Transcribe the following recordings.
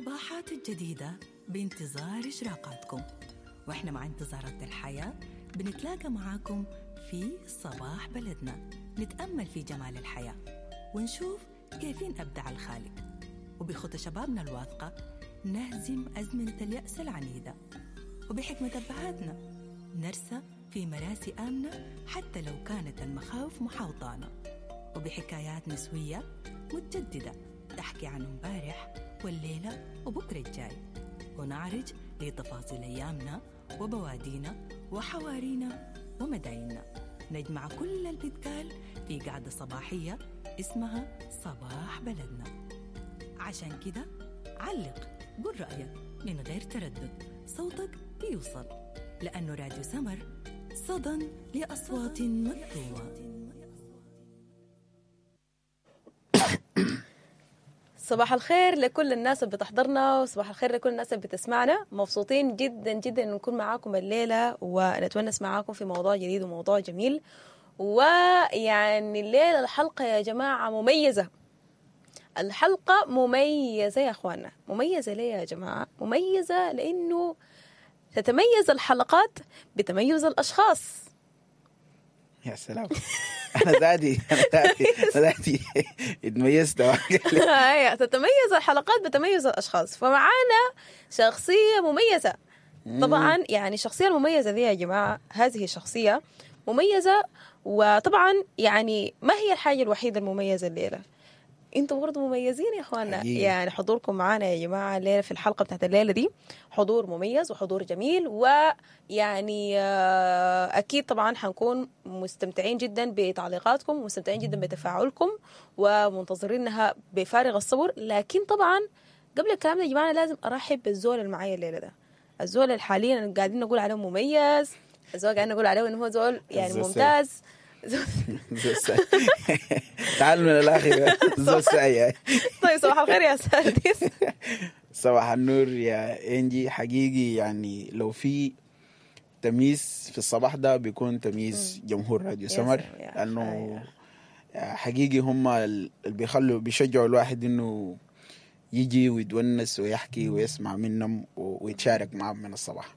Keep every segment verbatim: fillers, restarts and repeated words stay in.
الصباحات الجديدة بانتظار إشراقاتكم، وإحنا مع انتظارات الحياة بنتلاقى معاكم في صباح بلدنا، نتأمل في جمال الحياة ونشوف كيفين أبدع الخالق، وبخطى شبابنا الواثقة نهزم أزمنة اليأس العنيدة، وبحكمة أبهاتنا نرسى في مراسي آمنة حتى لو كانت المخاوف محاوطانا، وبحكايات نسوية متجددة تحكي عن امبارح والليلة وبكرة الجاي، ونعرج لتفاصيل أيامنا وبوادينا وحوارينا ومدايننا. نجمع كل اللي بيتقال في قعدة صباحية اسمها صباح بلدنا. عشان كده علق، قول رأيك من غير تردد، صوتك بيوصل، لأنه راديو سمر صدى لأصوات مكتومة. صباح الخير لكل الناس اللي بتحضرنا، وصباح الخير لكل الناس اللي بتسمعنا. مبسوطين جدا جدا ان نكون معاكم الليلة ونتونس معاكم في موضوع جديد وموضوع جميل. ويعني الليلة الحلقة يا جماعة مميزة، الحلقة مميزة يا اخوانا. مميزة ليه يا جماعة؟ مميزة لانه تتميز الحلقات بتميز الاشخاص. يا سلام، انا ذاتي انا ذاتي انا ذاتي اتميزت. ايوه، تتميز الحلقات بتميز الاشخاص. فمعانا شخصية مميزة طبعا، يعني الشخصية المميزة دي يا جماعة، هذه شخصية مميزة. وطبعا يعني ما هي الحاجة الوحيدة المميزة الليلة، انتوا برضه مميزين يا اخوانا. يعني حضوركم معانا يا جماعة الليلة في الحلقة بتاعت الليلة دي حضور مميز وحضور جميل، ويعني اكيد طبعا حنكون مستمتعين جدا بتعليقاتكم ومستمتعين جدا بتفاعلكم ومنتظرينها بفارغ الصبر. لكن طبعا قبل الكلام ده يا جماعة لازم ارحب بالزول اللي معايا الليلة ده، الزول اللي حاليا قاعدين نقول عليه مميز، الزول قاعدين نقول عليه انه هو زول يعني ممتاز. تعال من الاخر زول سعي. طيب صباح الخير يا سارديس. صباح النور يا انجي. حقيقي يعني لو في تمييز في الصباح ده بيكون تمييز جمهور راديو سمر، لانه حقيقي هم اللي بيخلوا بيشجعوا الواحد انه يجي ويتونس ويحكي ويسمع منهم ويتشارك معهم من الصباح.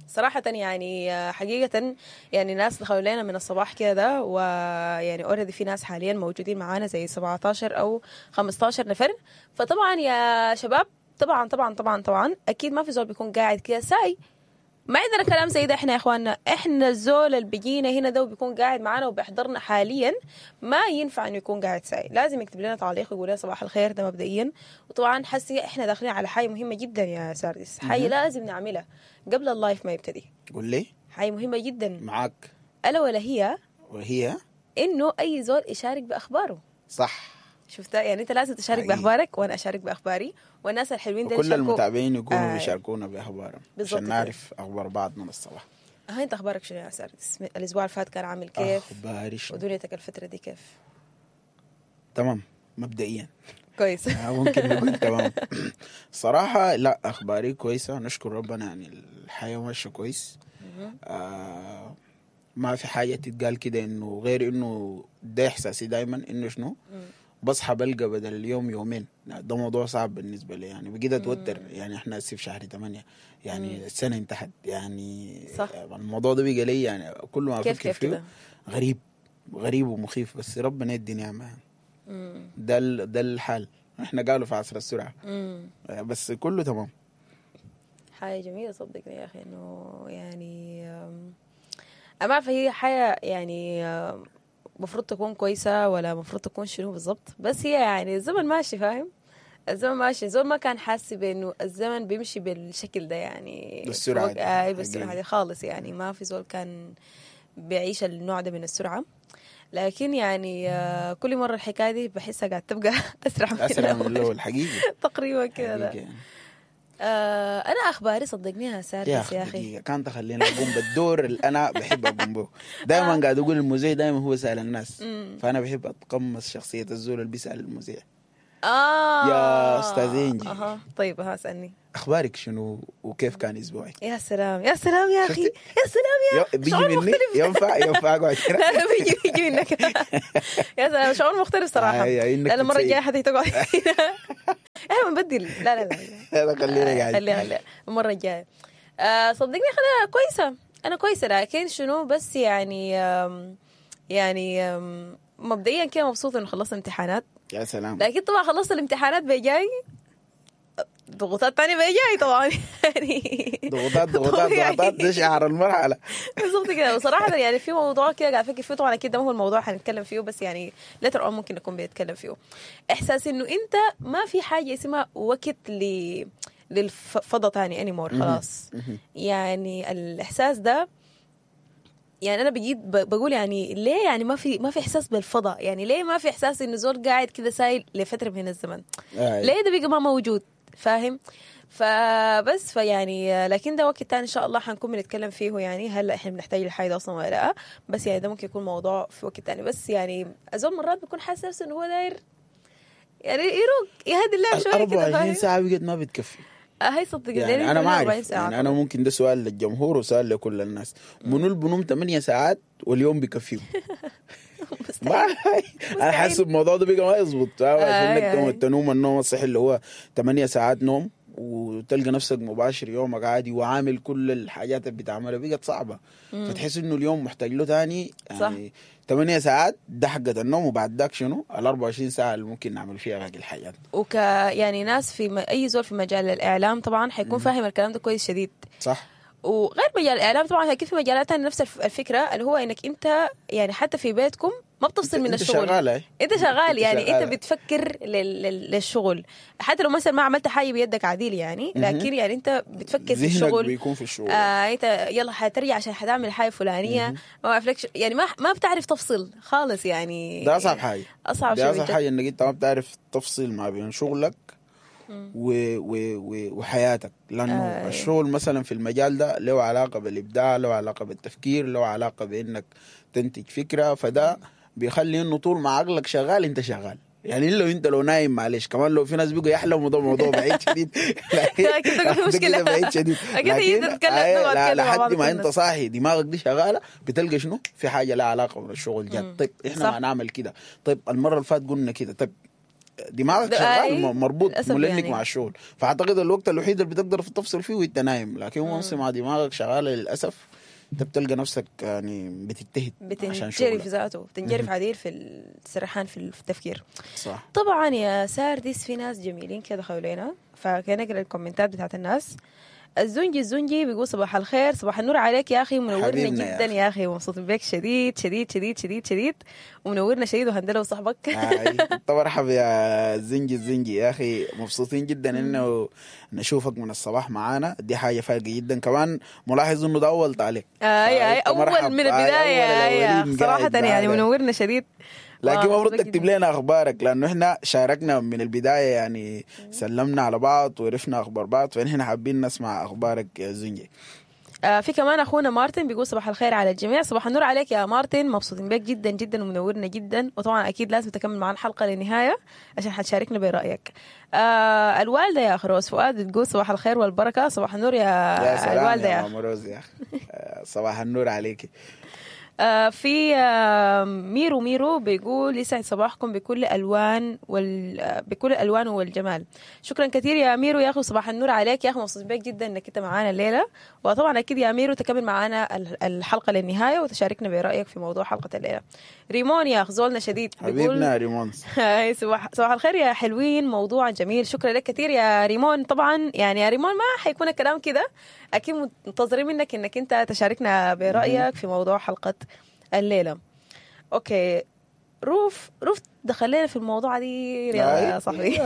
صراحة يعني حقيقة يعني ناس دخلوا لنا من الصباح كده، ويعني already في ناس حاليا موجودين معانا زي سبعتاشر أو خمستاشر نفر. فطبعا يا شباب، طبعا طبعا طبعا طبعا أكيد ما في زول بيكون قاعد كده ساي، ما عندنا كلام زي ده. احنا يا اخواننا، احنا الزول اللي بيجينا هنا ده وبيكون قاعد معانا وبيحضرنا حاليا ما ينفع انه يكون قاعد ساي، لازم يكتب لنا تعليق ويقول لنا صباح الخير، ده مبدئيا. وطبعا حسي احنا داخلين على حاجة مهمة جدا يا ساردس، حاجة لازم نعملها قبل ال live ما يبتدي. قول لي حاجة مهمة جدا معاك، الا ولا هي وهي انه اي زول يشارك باخباره. صح، شفتها؟ يعني انت لازم تشارك حقيقي باخبارك وانا اشارك باخباري، والناس الحلوين دول كل المتابعين يكونوا آه. بيشاركونا باخبارهم عشان نعرف اخبار بعض من الصباح. ها انت اخبارك شنو يا ساردس؟ الاسبوع اللي فات كان عامل كيف؟ اخباري شنو؟ ودنيتك الفترة دي كيف؟ تمام مبدئيا كويس. ممكن نقول تمام. صراحة لا، اخباري كويسة نشكر ربنا، يعني الحياة ماشية كويس. آه ما في حاجة تتقال كده انه غير انه ده احساسي دايما انه شنو بصحى بلقى بدل اليوم يومين. ده موضوع صعب بالنسبة لي، يعني بقيت أتوتر. يعني إحنا هسه في شهر ثمانية، يعني السنة انتهت، يعني صح. الموضوع ده بقى لي يعني كل ما أفكر فيه غريب غريب ومخيف، بس ربنا يدي نعمة. ده ده الحال، إحنا قالوا في عصر السرعة. مم. بس كله تمام. حاجة جميلة صدقني يا أخي، إنه يعني أما عارفة هي حاجة يعني مفروض تكون كويسة ولا مفروض تكون شنو بالضبط، بس هي يعني الزمن ماشي، فاهم؟ الزمن ماشي، الزمن ما كان حاسس بانه الزمن بيمشي بالشكل ده، يعني بالسرعة دي. آه بالسرعة دي خالص، يعني ما في زول كان بيعيش النوع ده من السرعة. لكن يعني آه كل مرة الحكاية دي بحسها قاعد تبقى أسرع من أسرع من الأول حقيقي تقريبا كده. آه أنا أخباري صدقني يا ساردس يا أخي كان تخلينا أقوم بالدور اللي أنا بحب أقوم به دائما. قاعد أقول المذيع دائما هو سأل الناس، فأنا بحب أتقمص شخصية الزول اللي بيسأل المذيع. آه يا أستاذ إنجي. أه. طيب ها اسألني أخبارك شنو وكيف كان أسبوعك؟ يا سلام يا سلام يا أخي، يا سلام يا أخي، بيجي مني ينفع ينفع أقعد هنا؟ لا لا بيجي بيجي منك. يا سلام شعور مختلف صراحة. آه المرة الجاية حتيجي تقعد هنا. احنا بنبدل. لا لا لا لا خلينا قاعد. خليها خليها المرة الجاية. آه صدقني انا كويسة، انا كويسة، لكن شنو بس يعني آم يعني آم مبدئيا كده مبسوطة انه خلصت امتحانات. يا سلام. لكن طبعا خلصت الامتحانات بجاي ضغوطات تانية بجاي طبعا يعني ضغوطات ضغوطات ضغوطات، ده شعار المرحلة بالضبط كده. وصراحة يعني في موضوع كده قاعد افكر فيه، طبعا اكيد ده ما هو الموضوع حنتكلم فيه، بس يعني later on ممكن نكون بنتكلم فيه. احساس انه انت ما في حاجة اسمها وقت ل للفضا تاني anymore خلاص. يعني الاحساس ده يعني انا بجيت بقول يعني ليه يعني ما في ما في احساس بالفضاء، يعني ليه ما في احساس انه زول قاعد كده سايل لفترة من الزمن؟ آه. ليه ده بقى ما موجود؟ فاهم؟ فبس فيعني لكن ده وقت تاني ان شاء الله حنكون بنتكلم فيه، يعني هلا احنا بنحتاج الحاجة اصلا ولا لا، بس يعني ده ممكن يكون موضوع في وقت تاني. بس يعني اظن مرات بيكون حاسس نفسه انه هو داير يعني يروق يهدي اللعب شوية كده. أربعة وعشرين ساعة بقت ما بتكفي. هاي صدق يعني انا ما اعرف، يعني انا ممكن ده سؤال للجمهور وسؤال لكل الناس، منو اللي بنوم ثمانية ساعات واليوم بيكفيهم؟ انا حاسس الموضوع ده بقى ما يظبط. عشان تنوم النوم الصحي اللي هو ثمانية ساعات نوم وتلقى نفسك مباشر يومك عادي وعامل كل الحاجات اللي بتعملها، بقت صعبة. فتحس انه اليوم محتاج له تاني يعني ثمانية ساعات ده حقة النوم، وبعد ذاك شنو ال أربعة وعشرين ساعة اللي ممكن نعمل فيها باقي الحاجات. وك يعني ناس في م... اي زول في مجال الاعلام طبعا حيكون فاهم الكلام ده كويس شديد. صح. وغير مجال الاعلام طبعا اكيد في مجالات ثانية نفس الفكرة، اللي هو انك انت يعني حتى في بيتكم ما بتفصل من الشغل. انت شغال، انت شغال يعني شغالة. انت بتفكر لل... لل... للشغل حتى لو مثلا ما عملت حاجة بيدك عديل يعني، لكن يعني انت بتفكر في الشغل، بيكون في الشغل. آه انت يلا حترجع عشان حتعمل حاجة فلانيه، ما بعرف يعني ما ما بتعرف تفصل خالص يعني. ده اصعب حاجة، اصعب شيء، اصعب حاجة انك انت ما بتعرف تفصل ما بين شغلك و و و وحياتك، لانه آه. الشغل مثلا في المجال ده له علاقة بالابداع، له علاقة بالتفكير، له علاقة بانك تنتج فكرة، فده بيخلي انه طول ما عقلك شغال انت شغال. يعني لو انت لو نايم معلش، كمان لو في ناس بيقوا يحلموا ده موضوع بعيد شديد. لكن مشكلة بعيد شديد. اكيد تتكلم لحد ما انت صاحي دماغك دي شغالة، بتلقى شنو في حاجة لها علاقة بالشغل جد. طيب احنا ما نعمل كده، طيب المرة اللي فاتت قلنا كده، طيب دماغك شغال مربوط ملنك يعني مع الشغل. فاعتقد الوقت الوحيد اللي بتقدر تفصل فيه وانت نايم، لكن once مع دماغك شغالة للاسف انت بتلقى نفسك يعني بتجتهد عشان شغلك، بتنجرف ذاته، بتنجرف عديل في السرحان في التفكير. صح. طبعا يا ساردس في ناس جميلين كده حوالينا، فكان اقرا الكومنتات بتاعت الناس. الزنجي الزنجي بيقول صباح الخير، صباح النور عليك يا اخي، منورنا جدا يا اخي، ومبسوطين بك شديد شديد شديد شديد شديد، ومنورنا شديد وهندله وصاحبك. طب مرحبا يا زنجي الزنجي يا اخي، مبسوطين جدا انه نشوفك من الصباح معانا، دي حاجة فارقه جدا. كمان ملاحظ انه ده اول تعليق. اي اي اول من البداية صراحة يعني منورنا شديد. لكن المفروض تكتب لنا اخبارك، لانه احنا شاركنا من البداية يعني سلمنا على بعض وعرفنا اخبار بعض، فنحن حابين نسمع اخبارك يا زنجي. آه في كمان اخونا مارتن بيقول صباح الخير على الجميع، صباح النور عليك يا مارتن، مبسوطين بك جدا جدا ومنورنا جدا، وطبعا اكيد لازم تكمل معنا الحلقة للنهاية عشان حتشاركنا برايك. آه الوالدة يا خروس فؤاد بتقول صباح الخير والبركة، صباح النور يا, يا سلام الوالدة يا, يا ماما روز يا اخي، صباح النور عليكي. آه في آه ميرو ميرو بيقول يسعد صباحكم بكل الوان وال بكل الالوان والجمال. شكرا كثير يا ميرو يا اخي، صباح النور عليك يا اخي، مبسوط بك جدا انك انت معانا الليلة، وطبعا اكيد يا ميرو تكمل معانا الحلقة للنهاية وتشاركنا برايك في موضوع حلقة الليلة. ريمون يا اخ زولنا شديد حبيبنا ريمون، صباح صباح الخير يا حلوين، موضوع جميل، شكرا لك كثير يا ريمون. طبعا يعني يا ريمون ما حيكون الكلام كده، اكيد منتظرين منك انك انت تشاركنا برايك في موضوع حلقة الليلة. okay روف روف دخلنا في الموضوع دي يا صاحبي،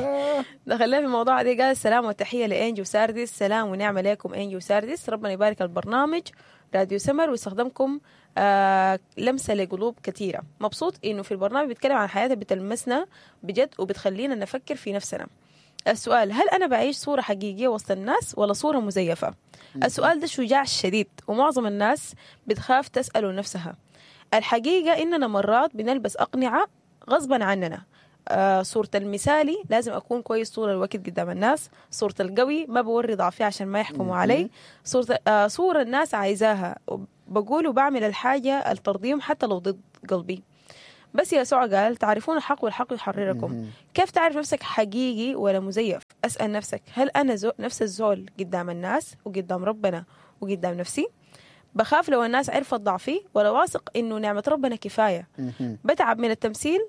دخلنا في الموضوع دي. قال السلام والتحيه لانجي وساردس، سلام ونعمه لكم انجي وساردس، ربنا يبارك البرنامج راديو سمر ويستخدمكم آه لمسه لقلوب كثيرة. مبسوط انه في البرنامج بيتكلم عن حياتنا بتلمسنا بجد وبتخلينا نفكر في نفسنا. السؤال، هل أنا بعيش صورة حقيقية وسط الناس ولا صورة مزيفة؟ السؤال ده شجاع شديد ومعظم الناس بتخاف تسأله نفسها. الحقيقة إننا مرات بنلبس أقنعة غصبا عننا. آه صورة المثالي لازم أكون كويس طول الوقت قدام الناس، صورة القوي ما بوري ضعفي عشان ما يحكموا علي، صورة, آه صورة الناس عايزاها بقول وبعمل الحاجة الترضيهم حتى لو ضد قلبي. بس يسوع قال تعرفون الحق والحق يحرركم. كيف تعرف نفسك حقيقي ولا مزيف؟ أسأل نفسك، هل أنا زو نفس الزول قدام الناس وقدام ربنا وقدام نفسي؟ بخاف لو الناس عرفت ضعفي، ولا واثق إنه نعمة ربنا كفاية؟ بتعب من التمثيل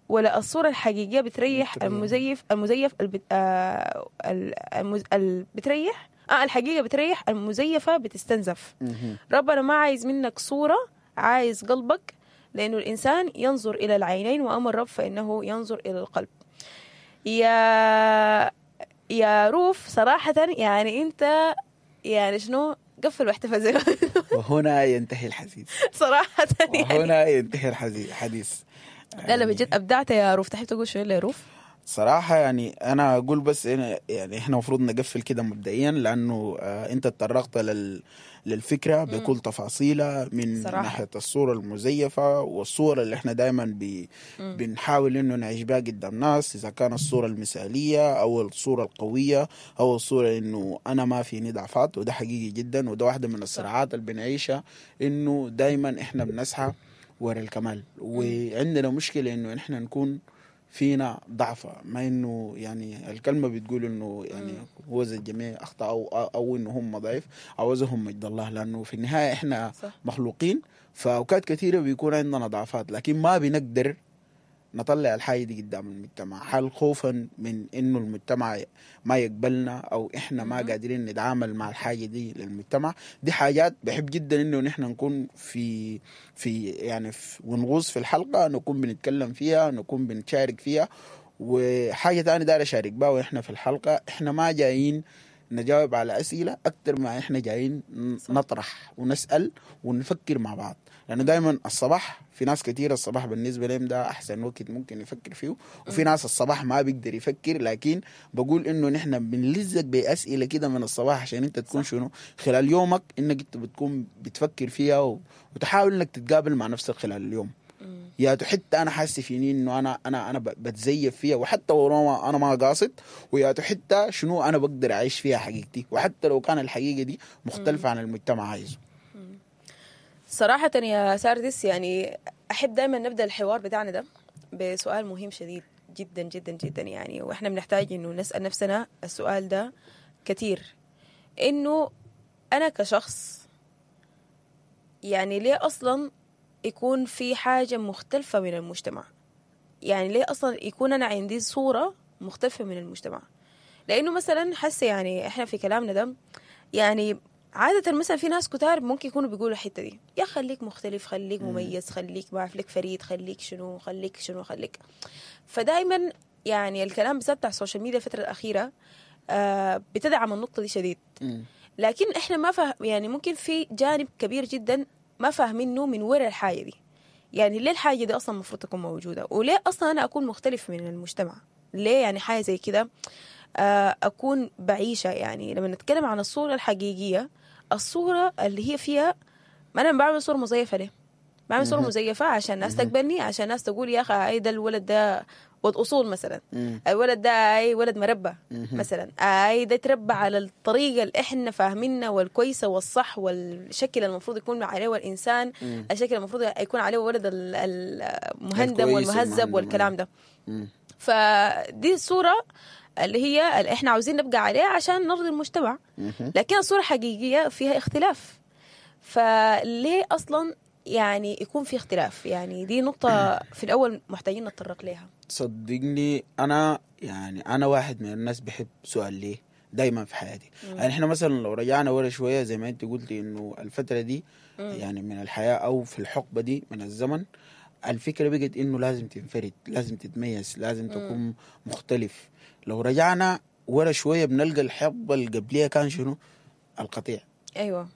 ولا الصورة الحقيقية بتريح المزيف؟ المزيف البت... آه المز... ال... بتريح آه الحقيقة بتريح، المزيفة بتستنزف. ربنا ما عايز منك صورة، عايز قلبك، لأنه الإنسان ينظر إلى العينين وأما الرب فإنه ينظر إلى القلب. يا يا روف صراحة يعني أنت يعني شنو قفل واحتفل. وهنا ينتهي الحديث صراحة يعني. وهنا ينتهي الحديث. لا لا بجد أبدعت يا روف. تحب تقول شنو يا روف؟ صراحة يعني أنا أقول بس يعني إحنا مفروض نقفل كده مبدئيا، لأنه آه أنت تطرقت لل للفكرة بكل تفاصيلها من صراحة. ناحية الصورة المزيفة والصورة اللي إحنا دايما بي بنحاول إنه نعيش بها قدام ناس، إذا كان الصورة المثالية أو الصورة القوية أو الصورة إنه أنا ما فيني ضعفات، وده حقيقي جدا، وده واحدة من الصراعات اللي بنعيشها، إنه دايما إحنا بنسعى ورا الكمال، وعندنا مشكلة إنه إحنا نكون فينا ضعفة، ما إنه يعني الكلمة بتقول إنه يعني هو زي الجميع أخطأ أو أو إنه هم ضعيف، عوزهم مجد الله، لأنه في النهاية إحنا صح. مخلوقين، فأوقات كثيرة بيكون عندنا ضعفات، لكن ما بنقدر نطلع الحاجة دي قدام المجتمع، حال خوفا من إنه المجتمع ما يقبلنا أو إحنا ما قادرين نتعامل مع الحاجة دي للمجتمع. دي حاجات بحب جدا إنه نحن نكون في في يعني في ونغوص في الحلقة، نكون بنتكلم فيها، نكون بنشارك فيها. وحاجة تانية داير أشارك بها وإحنا في الحلقة، إحنا ما جايين نجاوب على أسئلة أكتر ما إحنا جايين نطرح ونسأل ونفكر مع بعض، لأنه دايما الصباح في ناس كتير الصباح بالنسبة لهم ده أحسن وقت ممكن يفكر فيه، وفي ناس الصباح ما بيقدر يفكر، لكن بقول إنه نحن بنلزق بأسئلة كده من الصباح عشان أنت تكون شنو خلال يومك، إنك أنت بتكون بتفكر فيها وتحاول إنك تتقابل مع نفسك خلال اليوم. يا حتى أنا حاسس فيني إنه أنا أنا أنا بتزيف فيها، وحتى لو أنا ما قاصد، ويا حتى شنو أنا بقدر أعيش فيها حقيقتي، وحتى لو كان الحقيقة دي مختلفة عن المجتمع عايزه. صراحة يا ساردس، يعني أحب دائما نبدأ الحوار بتاعنا ده بسؤال مهم شديد جدا جدا جدا، يعني وإحنا بنحتاج إنه نسأل نفسنا السؤال ده كتير، إنه أنا كشخص يعني ليه أصلا يكون في حاجة مختلفة من المجتمع؟ يعني ليه أصلا يكون أنا عندي صورة مختلفة من المجتمع؟ لأنه مثلا حس يعني إحنا في كلامنا ده يعني عادة مثلا في ناس كتار ممكن يكونوا بيقولوا الحتة دي، يا خليك مختلف، خليك مميز، خليك ما أعرف لك فريد، خليك شنو، خليك شنو، خليك. فدايما يعني الكلام بالذات بتاع ال social media الفترة الأخيرة آه بتدعم النقطة دي شديد، لكن إحنا ما فهم، يعني ممكن في جانب كبير جدا ما فاهمينه من وراء الحاجة دي. يعني ليه الحاجة دي أصلا المفروض تكون موجودة؟ وليه أصلا أنا أكون مختلف من المجتمع؟ ليه يعني حاجة زي كده أكون بعيشة؟ يعني لما نتكلم عن الصورة الحقيقية، الصورة اللي هي فيها، ما أنا بعمل صورة مزيفة. ليه بعمل صورة مزيفة؟ عشان الناس تقبلني، عشان الناس تقول يا أخي أي ده الولد ده ولد أصول مثلا، الولد ده أي ولد مربى مثلا، أي ده تربى على الطريقة اللي إحنا فاهمينها والكويسة والصح والشكل المفروض يكون عليه الإنسان، الشكل المفروض يكون عليه ولد المهندم والمهذب والكلام ده. فدي الصورة اللي هي اللي إحنا عاوزين نبقى عليها عشان نرضي المجتمع، لكن الصورة حقيقية فيها اختلاف. فليه أصلا يعني يكون في اختلاف؟ يعني دي نقطة في الأول محتاجين نتطرق لها. صدقني أنا يعني أنا واحد من الناس بحب سؤال ليه دايما في حياتي. يعني إحنا مثلا لو رجعنا ورا شوية زي ما أنت قلتي إنه الفترة دي مم. يعني من الحياة أو في الحقبة دي من الزمن، الفكرة بقت إنه لازم تنفرد، لازم تتميز، لازم تكون مختلف. لو رجعنا ورا شوية بنلقى الحقبة اللي قبليها كان شنو؟ القطيع. أيوة،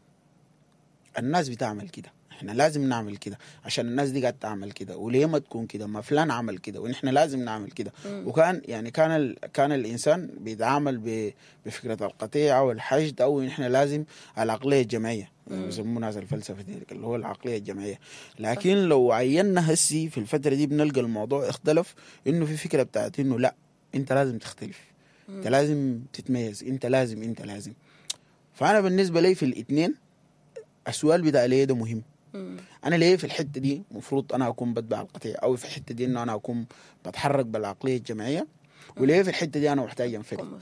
الناس بتعمل كده، احنا لازم نعمل كده عشان الناس دي قاعدة تعمل كده، وليه ما تكون كده؟ ما فلان عمل كده ونحن لازم نعمل كده. وكان يعني كان ال... كان الانسان بيتعامل بفكره القطيع او الحشد، او نحن لازم العقلية الجماعية، بيسموها ناس الفلسفة دي اللي هو العقلية الجماعية. لكن لو عيننا هسي في الفترة دي بنلقى الموضوع اختلف، انه في فكرة بتاعت انه لا، انت لازم تختلف، انت لازم تتميز، انت لازم انت لازم. فانا بالنسبة لي في الاثنين السؤال بتاع ليه ده مهم. انا ليه في الحتة دي المفروض انا اكون بتبع القطيع، او في الحتة دي انه انا اكون بتحرك بالعقليه الجماعية، وليه في الحتة دي انا محتاج انفرد.